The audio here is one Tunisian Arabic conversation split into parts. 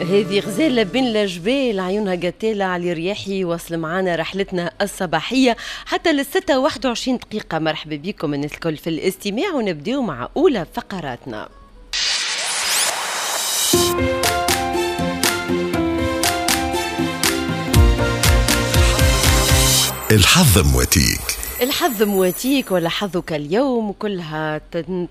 هذه غزالة بين الجبال عيونها قتالة علي رياحي. وصل معنا رحلتنا الصباحية حتى 6:21. مرحبا بكم الناس الكل في الاستماع، ونبداو مع أولى فقراتنا. الحظ مواتيك. الحظ مواتيك ولا حظك اليوم، كلها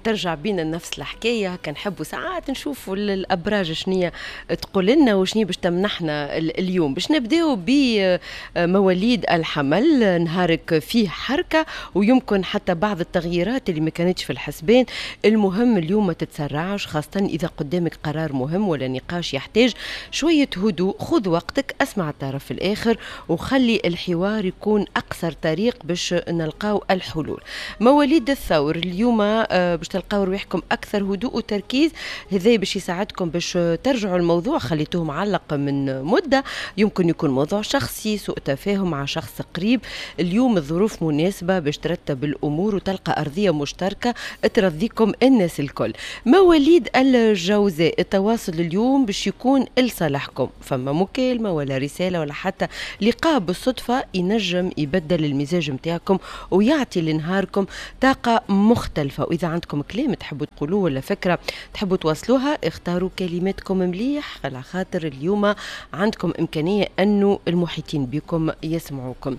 ترجع بينا نفس الحكاية. كنحبوا ساعات نشوفوا الابراج شنية تقول لنا وشنية باش تمنحنا اليوم. باش نبداو بمواليد الحمل، نهارك فيه حركة ويمكن حتى بعض التغييرات اللي ما كانتش في الحسبان. المهم اليوم ما تتسرعش، خاصة اذا قدامك قرار مهم ولا نقاش يحتاج شوية هدوء. خذ وقتك، اسمع الطرف الاخر وخلي الحوار يكون اقصر طريق باش نلقاو الحلول. مواليد الثور اليوم باش تلقاو رواحكم اكثر هدوء وتركيز، هذا باش يساعدكم باش ترجعوا الموضوع خليتوه معلق من مده، يمكن يكون موضوع شخصي، سوء تفاهم مع شخص قريب. اليوم الظروف مناسبة باش ترتب الامور وتلقى ارضية مشتركة ترضيكم الناس الكل. مواليد الجوزاء، التواصل اليوم باش يكون لصالحكم، فما مكالمة ولا رسالة ولا حتى لقاء بالصدفة ينجم يبدل المزاج نتاعكم ويعطي لنهاركم طاقة مختلفة. وإذا عندكم كلام تحبوا تقولوه ولا فكرة تحبوا توصلوها، اختاروا كلماتكم مليح، على خاطر اليوم عندكم إمكانية أنه المحيطين بكم يسمعوكم.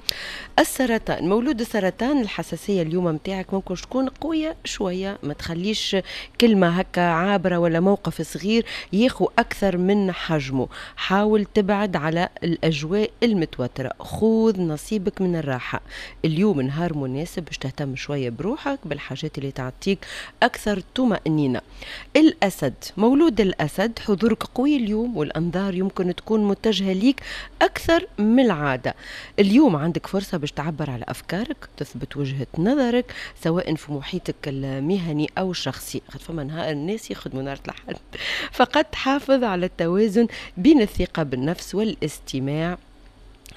السرطان، مولود السرطان، الحساسية اليوم متاعك ممكن تكون قوية شوية، ما تخليش كلمة هكا عابرة ولا موقف صغير ياخو أكثر من حجمه. حاول تبعد على الأجواء المتوترة، خذ نصيبك من الراحة. اليوم نهار مناسب باش تهتم شوية بروحك، بالحاجات اللي تعطيك أكثر طمأنينة. الأسد، مولود الأسد، حضورك قوي اليوم والأنظار يمكن تكون متجهة ليك أكثر من العادة. اليوم عندك فرصة باش تعبر على أفكارك، تثبت وجهة نظرك سواء في محيطك المهني أو الشخصي. خاطر فما نهار الناس يخدموا نهار الأحد. فقط حافظ على التوازن بين الثقة بالنفس والاستماع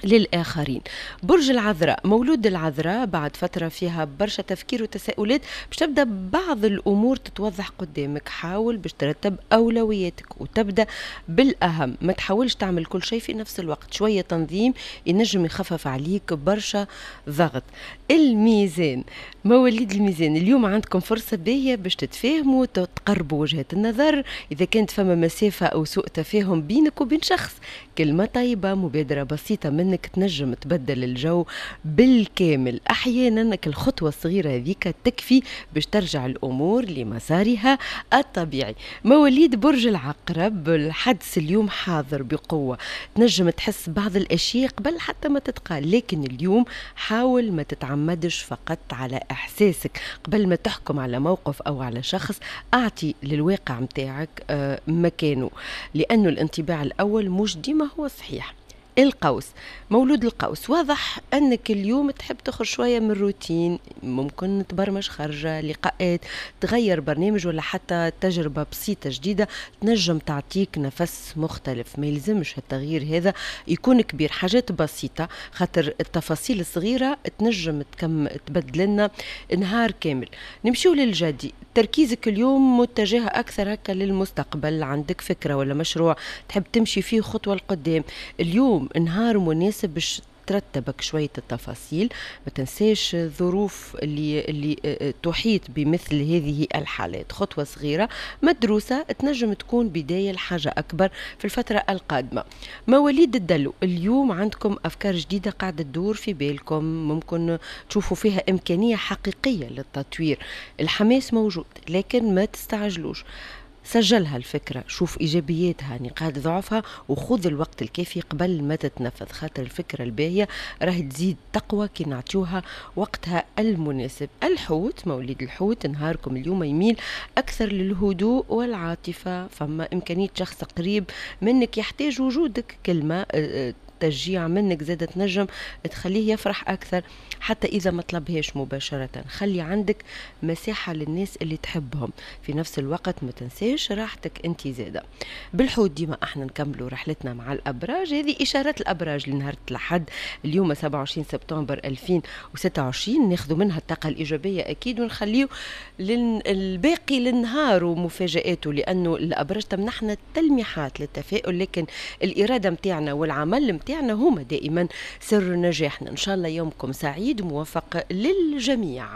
للآخرين. برج العذراء، مولود العذراء، بعد فترة فيها برشا تفكير وتساؤلات باش تبدأ بعض الأمور تتوضح قدامك. حاول باش ترتب أولوياتك وتبدأ بالأهم، ما تحاولش تعمل كل شيء في نفس الوقت. شوية تنظيم ينجم يخفف عليك برشا ضغط. الميزان، مواليد الميزان، اليوم عندكم فرصة باهية باش تتفاهموا، تقربوا وجهات النظر. إذا كانت فما مسافة أو سوء تفاهم بينك وبين شخص، كلمة طيبة، مبادرة بسيطة منك تنجم تبدل الجو بالكامل. أحيانا الخطوة الصغيرة هذيك تكفي باش ترجع الأمور لمسارها الطبيعي. مواليد برج العقرب، الحدس اليوم حاضر بقوة، تنجم تحس بعض الأشياء قبل حتى ما تتقال، لكن اليوم حاول ما تتعمدش فقط على إحساسك. قبل ما تحكم على موقف أو على شخص، أعطي للواقع متاعك مكانه، لأنه الانطباع الأول مش ديما هو صحيح. القوس، مولود القوس، واضح أنك اليوم تحب تخرج شوية من الروتين، ممكن تبرمج خرجة، لقاءات، تغير برنامج ولا حتى تجربة بسيطة جديدة تنجم تعطيك نفس مختلف. ما يلزمش التغيير هذا يكون كبير، حاجات بسيطة، خاطر التفاصيل الصغيرة تنجم تبدل لنا نهار كامل. نمشيو للجدي، تركيزك اليوم متجه أكثر هكا للمستقبل، عندك فكرة ولا مشروع تحب تمشي فيه خطوة لقدام. اليوم نهار مناسب باش ترتبك شوية التفاصيل، ما تنساش الظروف اللي تحيط بمثل هذه الحالات. خطوة صغيرة مدروسة تنجم تكون بداية لحاجة أكبر في الفترة القادمة. مواليد الدلو، اليوم عندكم أفكار جديدة قاعدة تدور في بالكم، ممكن تشوفوا فيها إمكانية حقيقية للتطوير. الحماس موجود لكن ما تستعجلوش، سجلها الفكرة، شوف إيجابياتها، نقاط ضعفها، وخذ الوقت الكافي قبل ما تتنفذ، خاطر الفكرة الباهية راهي تزيد تقوى كي نعطيوها وقتها المناسب. الحوت، موليد الحوت، نهاركم اليوم يميل أكثر للهدوء والعاطفة، فما إمكانية شخص قريب منك يحتاج وجودك، كلمة تشجيع منك زادة تنجم تخليه يفرح أكثر حتى إذا ما طلبهاش مباشرة. خلي عندك مساحة للناس اللي تحبهم، في نفس الوقت ما تنساش راحتك أنت زادة. بالحوت ديما احنا نكملوا رحلتنا مع الأبراج، هذه إشارات الأبراج لنهار الأحد اليوم 27 سبتمبر 2026، ناخذ منها الطاقة الإيجابية أكيد ونخليه الباقي للنهار ومفاجآته، لأنه الأبراج تمنحنا تلميحات للتفاؤل، لكن الإرادة متاعنا والعمل متاعنا هما دائما سر نجاحنا. إن شاء الله يومكم سعيد وموفق للجميع.